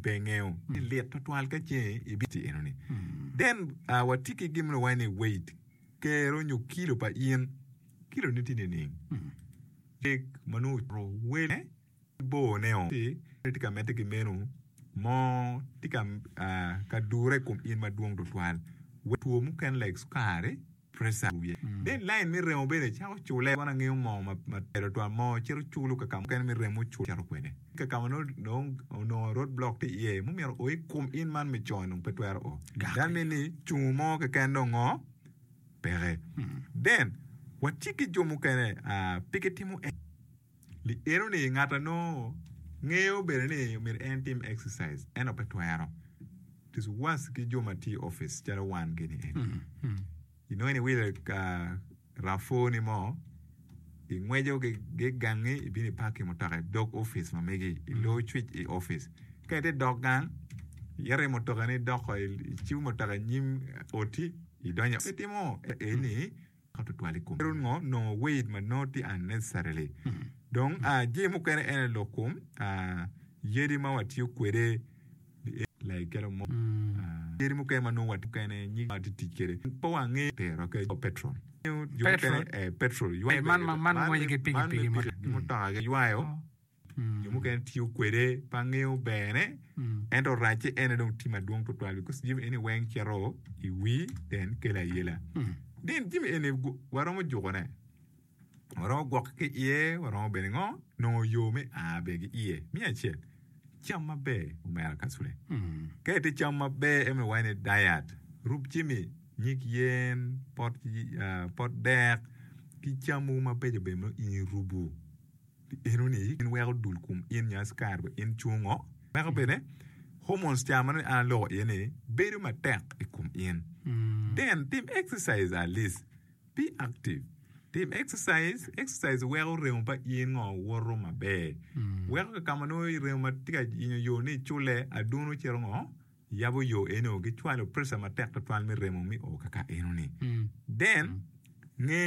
pe ingeyo ni lit twatwal ka ce ibiti eno ni. Then watye ki gin ma waco ni weight, kero nyo kilo pa in, kilo ni tye nining? Dek ma nongo ocito wele bor ne o ci tye ka medde ki meno mo tye ka dure i kom in madwong tutwal wek two mukene like cukari, pressure wiye. Then line me remo bene cako cule wan angeyo moo ma ber tutwal moo cito culo ka ka mukene me remo cul cito kwede ka ka ma nongo onongo road block tye iye mumyero o i kom in man me co dong pe twero o that mean ni cungo mo keken dong ngo peke then watye ki jo mukene pe gitimo Li eno ni ngat a nongo ngeyo bene ni myero en tim exercise ento pe twero. It is worse ki jo ma tye i office calo wan gini eni. Inongo ni iwilo rav4 ni mo ingweco ki gangi ibino i park ki mutoka idog office ma megi ilor cwic i office. Ka itye dok gang iyito i mutoka ni idoko icibo mutoka inyim oti idonyo itimo eni ka tutwal i kom ngo nongo weight ma nongo tye unnecessarily. Dong jami mukene en aye lok kom yadi ma watiyo kwede like calo mo yadi mukene ma nongo watiyo mukene nyig ma watye tic kwede pe wangeyo tero ki petrol jo mukene petrol ywayo Man ngweco ki pikipiki ma mutoka ywayo Jo mukene tiyo kwede pe angeyo berne ento racce en aye dong tye madwong tutwal because jami eni weng cito i wi then kelo ayela. Then jami eni waromo jukone, waromo gwokke ki iye, waromo bene ngo nongo yo me a bene ki iye. Me acel, cam maber omera kacule. Ka itye cam maber en waco ni diet, rub jami nyig yen, pot dek ki cam mogo mabeco bene ma in irubo. Eno-ni in weko dul kom in nyo askari wa in cungo, weko bene hormones ca ma nongo an aloko iye ni bedo matek i kom in. Then tim exercise at least, be active, tim exercise, exercise weko remo pa in ngo woto maber, weko ka ka ma nongo remo ma tye ka yenyo yo ni icule aduno cito ngo yabo yo eno gicwalo pressure matek tutwal me remo me o kaka eno-ni. Then nge.